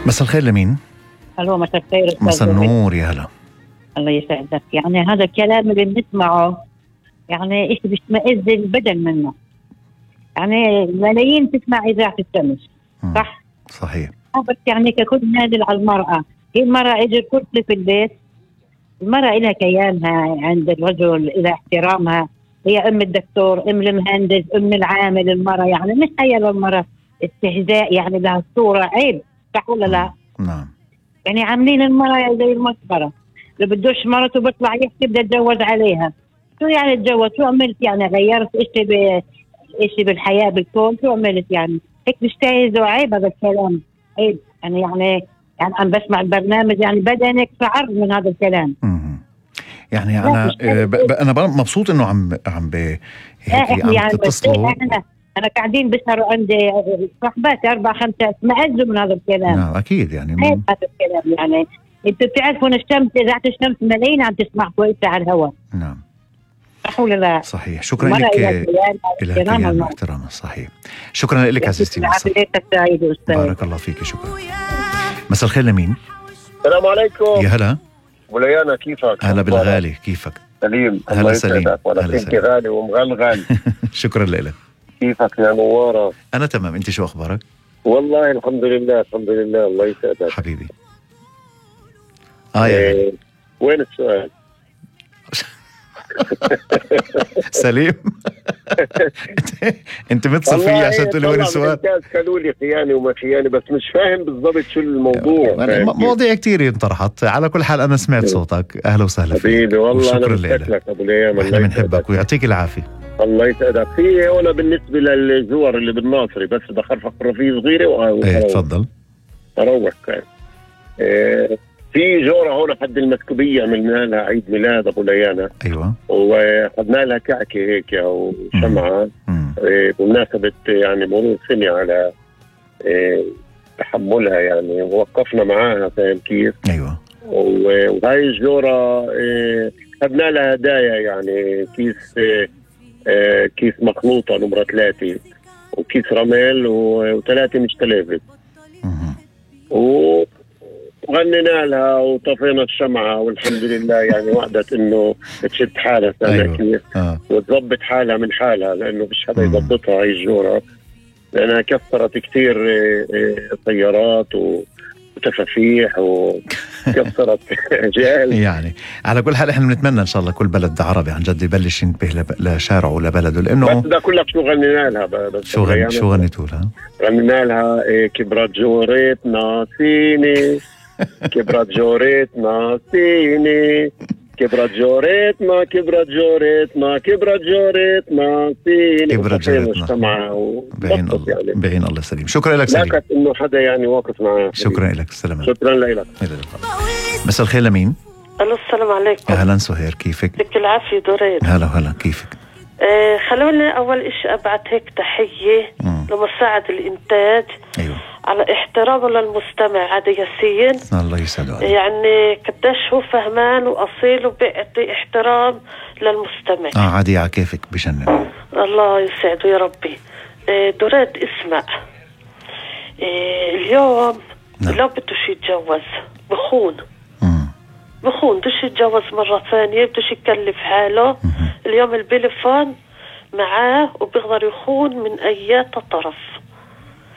مساء الخير لمين؟ الو مساء الخير. مساء النور يا هلا. الله يسعدك. يعني هذا الكلام اللي بنسمعه يعني إيش بيشمئز البدن منه. يعني ملايين تسمع إذاعة الشمس صح؟ صحيح. بس يعني ككل نازل على المرأة، هي المرأة إجت كرسي في البيت، المرأة إلها كيانها عند الرجل، إلها احترامها، هي أم الدكتور، أم المهندس، أم العامل. المرأة يعني مش هي للمرأة استهزاء، يعني لها صورة عيب صح ولا لا؟ نعم. يعني عاملين المرأة زي المسخرة، اللي بدوش مرته بيطلع يحكي بدي اتجوز عليها. شو يعني اتجوز؟ شو عملت يعني؟ غيرت اشي بالحياة بالكون؟ شو عملت يعني؟ هيك بيستهزوا. عيب هذا الكلام، عيب. يعني عم بسمع البرنامج يعني بدنك شعر من هذا الكلام. يعني انا مبسوط انه عم يعني تتصلوا. انا قاعدين بسهروا عندي صحباتي 4-5 مأزوا من هذا الكلام. نعم اكيد يعني هذا الكلام. يعني انتوا بتعرفون الشمس، اذاعة الشمس ملايين عم تسمع كويسة على الهواء. نعم صح ولا لا؟ صحيح. شكرا لك. إلى كيان واحترامها. صحيح. شكرا لك عزيزتي. بارك الله فيك. شكرا. مساء الخير لمين؟ السلام عليكم. يا هلا وليانا، كيفك؟ هلا بالغالي، كيفك؟ سليم. هلا سليم. ولا كنت غالي ومغلغل. شكرا لك. كيفك يا نوارة؟ أنا تمام، أنت شو أخبارك؟ والله الحمد لله الحمد لله. الله يسعدك حبيبي. وين السؤال؟ سليم. انت متصل فيي عشان تقول لي وين السؤال؟ قالوا لي خياني وما خياني، بس مش فاهم بالضبط شو الموضوع. مواضيع كتير انطرحت. على كل حال انا سمعت صوتك. اهلا وسهلا فيك حبيبي. والله شكرا لك ابو ليام. احنا بنحبك ويعطيك العافيه. الله يسعدك. في هنا بالنسبه للزور اللي بالناصري، بس بخرفق رفيق صغيره. ايه تفضل. اروق كان. في جورة هون حد المسكوبية عملنا لها عيد ميلاد أبو ليانا. أيوة. وخدنا لها كعكة هيك أو شمعة بمناسبة يعني مرور سنة على تحملها، يعني ووقفنا معاها. فاهم كيف؟ أيوة. وهاي الجورة خدنا لها هدايا، يعني كيس مخلوطة نمرة 3 وكيس رمل و3 مش تلافت. وغنينا لها وطفينا الشمعة والحمد لله. يعني وعدت انه تشد حالها. أيوة. كيف وتضبط حالها من حالها، لانه مش حدا يضبطها هاي الجورة، لانها كسرت كثير طيارات وتفافيح وكسرت جال. يعني على كل حال احنا بنتمنى ان شاء الله كل بلد عربي عن جد يبلش ينتبه لشارعه ولبلده، لانه بس بدي اقول لك شو غنينا لها. بس شو غنيتوا لها؟ غنينا لها كبرت جوريت ناسيني، كبرت جوريت ناسيني، كبرت جوريت ما كبرت جوريت ما كبرت جوريت ناسيني. كبرت جوريت ما بعين الله سليم. شكرا لك سليم. لكن انه حدا يعني واقف معاه. شكرا لك. السلام. شكرا لك. مساء الخير لمين؟ الو السلام عليكم. اهلا سهير، كيفك؟ يعطيك العافيه دورين. هلا كيفك؟ خلوني اول اشي ابعت هيك تحيه لمساعد الانتاج. ايوه. على احترامه للمستمع عادي ياسين. الله يسعده. يعني قديش هو فهمان واصيل وبيعطي احترام للمستمع. عادي على كيفك بجنن. الله يسعده يا ربي. دوراد اسمع، اليوم لو بدوش يتجوز بخون بدوش يتجوز مرة ثانية، بدوش يكلف حاله. اليوم البيليفون معاه وبيقدر يخون من أي طرف.